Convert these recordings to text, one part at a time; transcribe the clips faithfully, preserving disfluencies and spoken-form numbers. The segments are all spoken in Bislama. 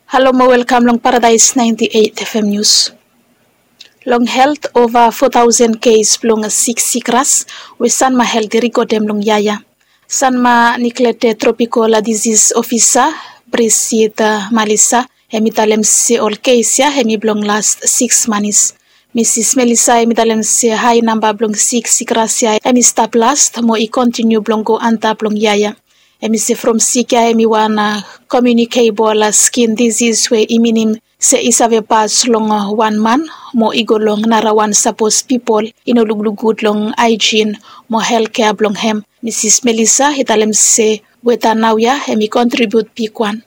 Halo mo welkam long Paradise ninety eight F M News. Long helt, ova four thousand kes blong sik sikras we Sanma Helt i rikodem long yia ya. Sanma Neglected Tropical Disease Officer Brisita Malisa hemi talem se ol kes ya hemi blong las siks manis. Misis Melisa hemi talem se hae namba blong sik sikras ya hemi stap las mo i kontiniu blong go antap long yia ya. Hemi se from sik ya hemi wan komiunikebol skin disis we i minim se i save pas long wan man mo i go long narawan sapos pipol i no lukluk gud long aejin mo helkea blong hem. Misis Melisa i talem se weta naoia hemi kontribiut bigwan.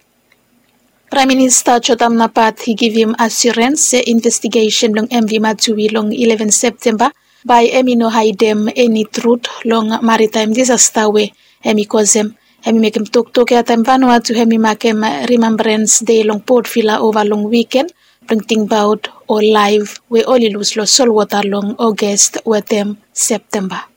Praem Minista Jotam Napat i givim asirens se investigesen blong M V Matui long eleven Septemba bae hemi no haedem eni trut long maritaem disasta we hemi kosem. Hemi mekem toktok ya taem Vanuatu hemi makem Rimembrans Dei long Port Vila ova long wiken blong tingbaot ol laef we oli lus long solwota long August wetem Septemba.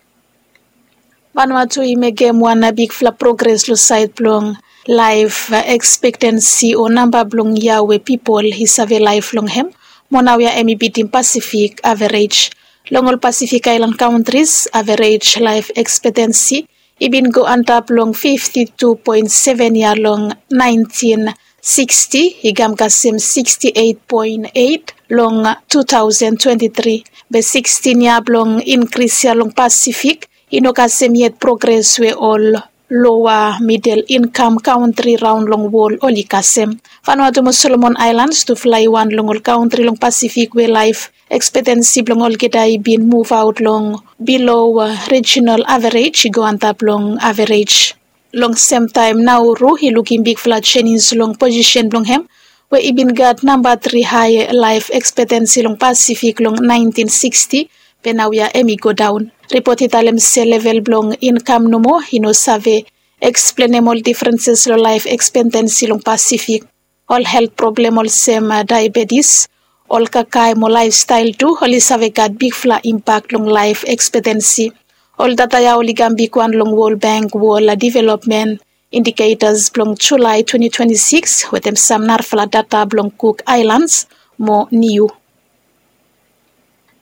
Vanuatu i mekem wan bigfala progres long saed blong laef ekspektensi o namba blong yia we pipol i save laef long hem, mo naoia hemi bitim Pasifik averej. Long ol Pasifik aelan kantris, averej laef ekspektensi i bin go antap long fifti tu poen seven yia long naentin siksti, i kam kasem siksti eit poen eit long tu taosen twenti tri. Be sikstin yia blong inkris ya long Pasifik i no kasem yet progres we ol loa midel inkam kantri raon long wol oli kasem. Vanuatu mo Solomon Aelans tufala i wan long ol kantri long Pasifik we laef ekspektensi blong olgeta i bin muvaot long bilo rijinal averej i go antap long averej. Long semtaem Nauru i lukim bigfala jenis long posisen blong hem we i bin gat namba tri hae laef ekspektensi long Pasifik long naentin siksti, be naoia hemi godaon. Ripot i talem se level blong inkam nomo i no save eksplenem ol difrenses long laef ekspektensi long Pasifik. Ol helt problem olsem daebetis, ol kakae mo laefstael tu oli save gat bigfala impak long laef ekspektensi. Ol data ya oli kam bigwan long Wol Beng Wol Developmen Indiketas blong Julae twenti twenti sikis wetem sam narafala data blong Kuk Aelans mo Niu.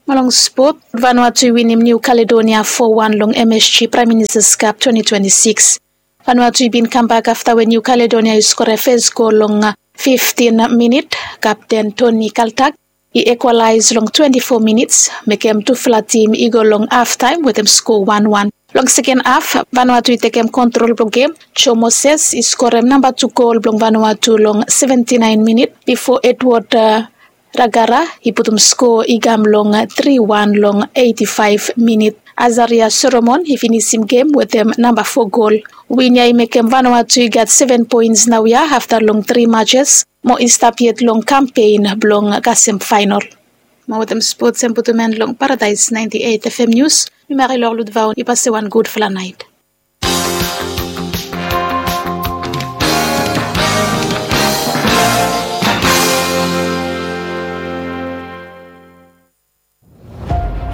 Mo long spot, Vanuatu i winim Niu Kaledonia fo wan long M S G Praem Ministas Kap twenti twenti sikis. Vanuatu i bin kambak afta we Niu Kaledonia i skora fes gol long fiftin minit, kapten Toni Kaltak i ekwalaes long twenti fo minits, mekem tufala tim i go long haftaem wetem sko wan wan. Long seken haf, Vanuatu i tekem kontrol blong gem. Joe Moses i skorem namba tu gol blong Vanuatu long seventi naen minit bifo Edward Ragara i putum sko i kam long tri wan long eiti faef minit. Azaria Solomon i finisim gem wetem namba fo gol. Win ya i mekem Vanuatu i gat seven poens naoia afta long tri majes mo i stap yet long kampen blong kasem faenol. Mo wetem spots hem putum en long Paradaes naenti eit F M Nius. Mi Marilor Ludvaon, i pase wan gudfala naet.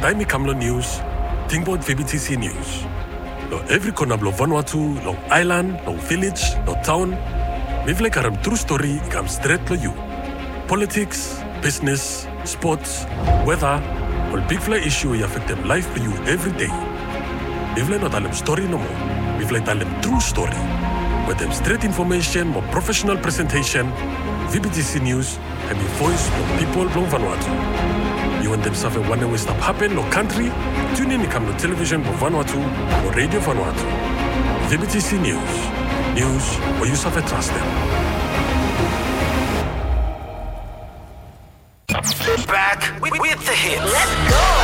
Taem i kam long nius, tingbaot V B T C Nius. Long evri kona blong Vanuatu, long aelan, long vilej, long taon, mifala i karem tru stori i kam stret long yu. Politiks, bisnes, spots, weta, ol bigfala isu i afektem laef blong yu evri dei. Mifala i no talem stori nomo, mifala i talem tru stori. Wetem stret infomesen mo profesenal presentesen, V B T C Nius hemi voes blong pipol blong Vanuatu. Yu wantem save wanem we stap hapen long kantri? Tiunin i kam long televisen blong Vanuatu o redio Vanuatu. V B T C Nius. Nius we yu save trastem. Back with, with the hits.